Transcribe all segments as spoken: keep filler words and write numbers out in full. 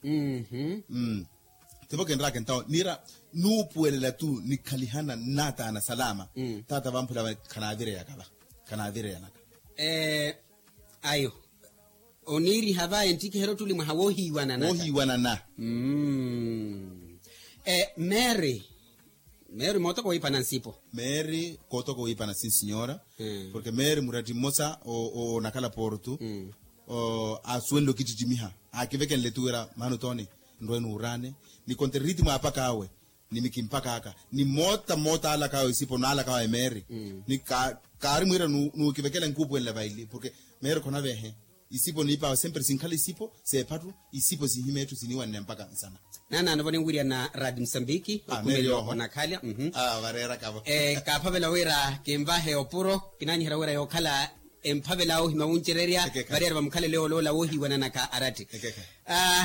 Mmm. Tivo kinraka entawo niira nuupuwelela tu nikhalihana nnaataana salama. Taata vamphula khanaavireyaka va khanaavireyanaka. Ayo oniiriha va enttikiherya ottuli mwaha woohiiwanana. Woohiiwanana. Mary. Mary mootoko wiipana nsipo. Mary kootoko wiipana si nsinyora. Porke mary muratti mmosa onakhala portu asuwenle okittittimiha aakivekenle tu wira maana otooni nrwe nuuraane. Ni konte ritimu apaka awe ni mikimpaka aka ni moota moota alaka awe isipo naalaka awe mary. Ni kaari mwiira nuukivekela nkuupuwenle vaili porke mary khonavehe. Isipo niipaawe sempre sinkhala isipo seephattu. Isipo sihimya etthu siniiwanne mpaka nsana. Naanaanovo ninwirya na radi musambiki. Okhumelo onakhalya. Vareerakavo. Kaaphavela wira kinvahe opuro kinaanyiherya wira yookhala emphavela ohimya wuncererya. Variyari va mukhalelo yoola woohiiwananaka aratti.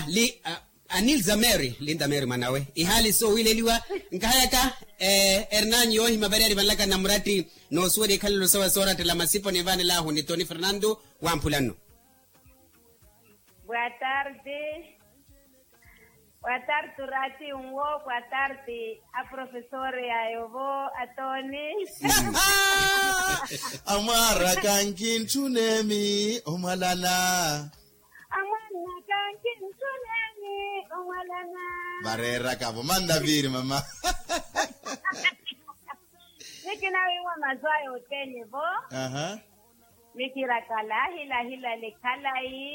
Li anilza mary linda mary mwanawe ihaali soowileliwa. Nkahayaka erinanyu yoohimya variyari vanlaka na muratti noosuwerya ikhalelo sawe soorattela masipo ninvanelahu ni toni fernando. Wamphula nno. Boa tarde. Boa tarde turati nwo boa tarde. Aprofesor yayovo atoni. Amwaraka nkintthunemi omwalana. Amwaraka nkintthunemi omwalana. Vareerakavo manna viiri mama. Nikinawiiwa masu aya othene vo. Mikiraka lahi lahi lale khalayi.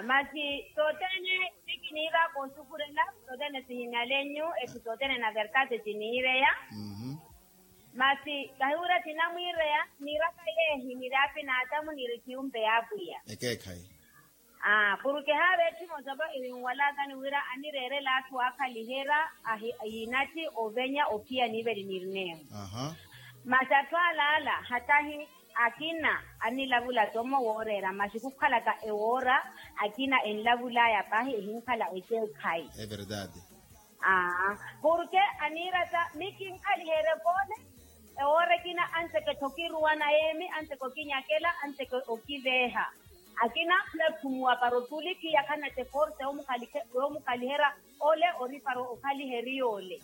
Masi sothene sikiniiva koosufurela sothene sihimyalenyu ethi sothene na vertati tiniireya. Masi kahiwira tinamwiireya niiraka yeehi niri apinaatamu niri khiyumpe ya apwiya. Ekeekhayi. Porke haava etthu emosa va erinwalakani wira anireerela atthu aakhaliherya. Yiinatthi ovenya ophiya niiveli nirineeho. Masi atthu alaala hatahi akina anilavula tommo wooreera masi khukhalaka ewoora akina enlavulaya pahi ehinkhala ekeekhayi. Porke aniirata mikinkhaliherye poole. Ewoora ekina anteke-tho okiruwana yeemi anteke okinyakela anteke okiveeha. Akina khula khumuwa para otulikhiya khanatte force yoomukhaliherya ole ori para okhaliherya ole.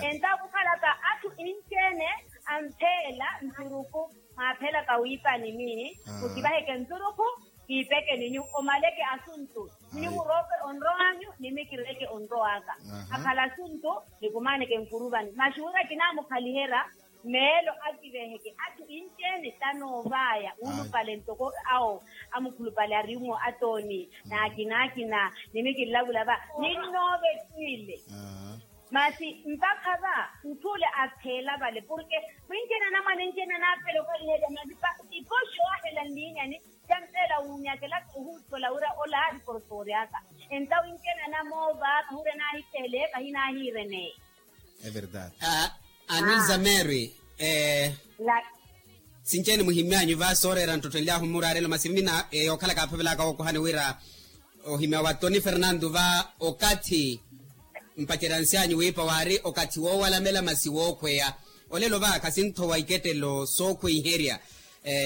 Entawo khukhalaka atthu inci-ene ampheela nturuku mwaaphelaka wiipani miihi. Mukivaheke nturuku kiipeke ninyu omaleke asuntu. Ninyu muroope onrow'anyu ni mikireke onrow'aka. Akhala asuntu nikumaaneke nkuruvani masi wira kinaamukhaliherya. Meelo akiveheke atthu inci-ene tanoovaya wuulupale ntoko awo amukhulupale ari-umo atooni n'akina akina ni mikinlavula va ninnoovetiile. Masi mpakha va ntthu ole apheela vale porke mwinci-ene anamwane inci-ene anaaphela okhaliherya masi va ipoxi owahela nliinyani. Campeela wuunyakelaka ohuutthola wira ola aari porofori aka. Entawo inci-ene anamoova kahurya naahittehele kahinaahiireneye. Anilza mary. Sinci-ene muhimmyanyu va sooreera nttotto enly'ahu mmuraarelo masi mmina yookhala kaaphavelaka wookohani wira ohimya wa toni fernando va okathi mpacerya nsi anyu wiipa waari okathi woowalamela masi wookhweya. Olelo va khasinthowa ikettelo sookhweiherya.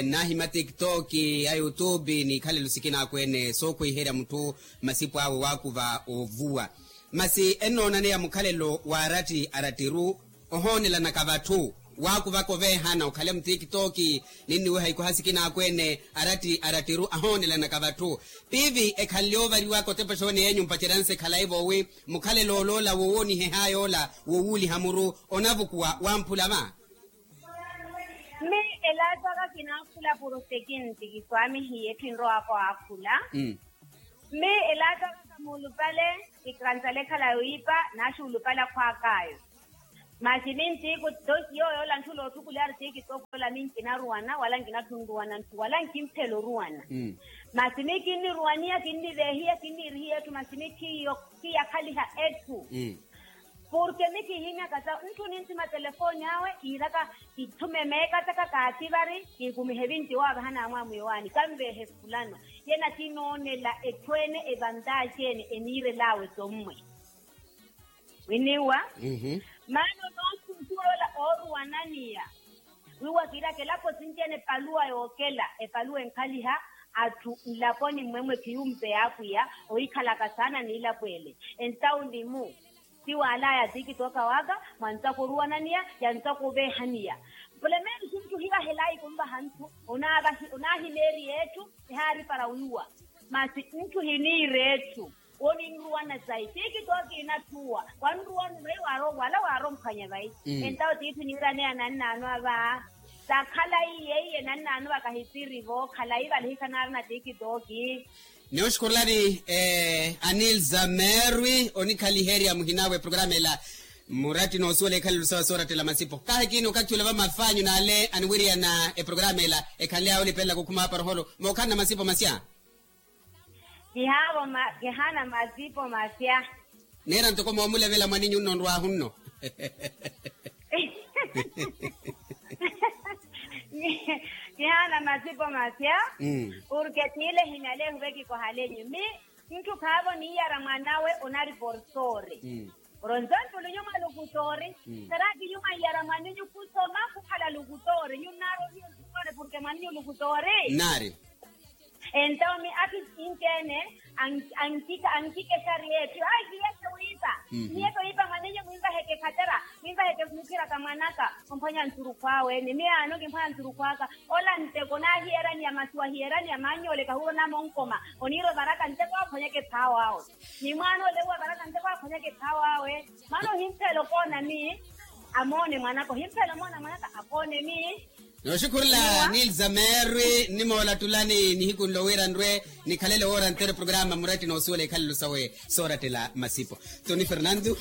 Nnaahimya tiktok ya youtube n'ikhalelo sikina akweene sookhweiherya mutthu masipo awe waakuva oovuwa. Masi ennoonaneya mukhalelo waaratti arattiru ohoonelanaka vatthu waakuvaka oveehana okhale mutikitoki. Ninniweha ikoha sikina akweene aratti arattiru ahoonelanaka vatthu piivi ekhanle oovariwaka otepa exooni yeenyu mpaceryanse khalayi voowi mukhalelo oloola wowoonihehaya ola wowuuliha muru onavukuwa wamphula va. Mmi elaataka kinaakhula puro sekinti kiswaamihiye etthu enrowaka waakhula. Mmi elaataka kamuulupale ikransalekhala wiipa naaxuulupala khwaakaayo. Masi mintiku tosi yooyo ola ntthu loothukulyari tiikitookola minkinaruwana wala nkinathunruwana ntthu wala nkimphela oruwana. Masi mikinniruwaniya kinniveehiya kinniirihiya etthu masi mikhiyo khiyakhaliha etthu. Porke mikihinyaka sa ntthu ninthima telefooni awe kiiraka kithume meekataka kaativari kiikumihe vinti owaavahana amwaamwiyo waani kanveehe fulano. Yena kinoonela etthu ene evantaaci ene eniirelaawe sommwe. Winiwa. Maana onoosuusuwela ooruwananiya wiiwa kiiraka elapo sinci ene epaluwa yookela epaluwa enkhaliha. atthu nlaponi mmwemwe khiyumpeya apwiya ohikhalaka saana n'ilapweele. Entawo nlimu ti waalaya tikitoka waka mwanttaka oruwananiya yanttaka oveehaniya. Pulementu nttuhi vahelayi khunvaha nthu onaahileeriya etthu ehaari para wiiwa. Masi nttuhi niira etthu woninruwana sayi tikitoka inatthuwa wanruwana vayi wala waaromphwanya vayi. Entawo tiithi niiraneya nannaano ava. Takhalayi yeiye nannaano vakahitiri vo khalayi vale hikhanarina tikitoki. Ni oxukhurulani anilza merwi onikhaliherya muhinawe programa ela. Muratti noosuwela ekhalelo sawe soorattela masipo kaahikini okathi ole vamafanyu n'ale aniwiriyana eprograma ela. Ekhanle awe olipelela kukhuma aparoholo mookhalana masipo masya. Kihaavo kihaana masipo masya. Neera ntoko moomulevela mwaninyu nno nrwaahu nno. Kihaana masipo masya. Purke tiile ehimyaleehu vekikohalenyu mi nttu khaavo niiyara mwanawe onari porsoori. Oronzontu lunyuma lukutoori. Saraaki nyuma iyara mwaninyu khusoma khukhala lukutoori nyunnaarohiyo ntukoone purke mwaninyu lukutoori. Nnaari. Entawo mi ati sinci-ene ankikexari etthu ayi kiyeke wiipa. Kiyeke wiipa mwaninyu mwinvaheke khatera mwinvaheke mukhiraka mwanaka. Omphwanya nsurukhu awe ni miyaano kimphwanya nsurukhu aka. Ola nteko naahiyeraniya masi wahiyeraniya maannyole kahuuro namonkoma oniira ovaraka nteko akhonyeke phaawo awe. Ni mwaana ole uwa varaka nteko akhonyeke phaawo awe. Maana ohimphela okoona mi amoone mwanaka ohimphela omoona mwanaka akoone mi. Nooxukhurula nilza merwi nnimoola ttulani nihiku nlo wira nrwe nikhalele woora ntere programa muratti noosuwela ikhalelo sawe soorattela masipo. Toni fernando.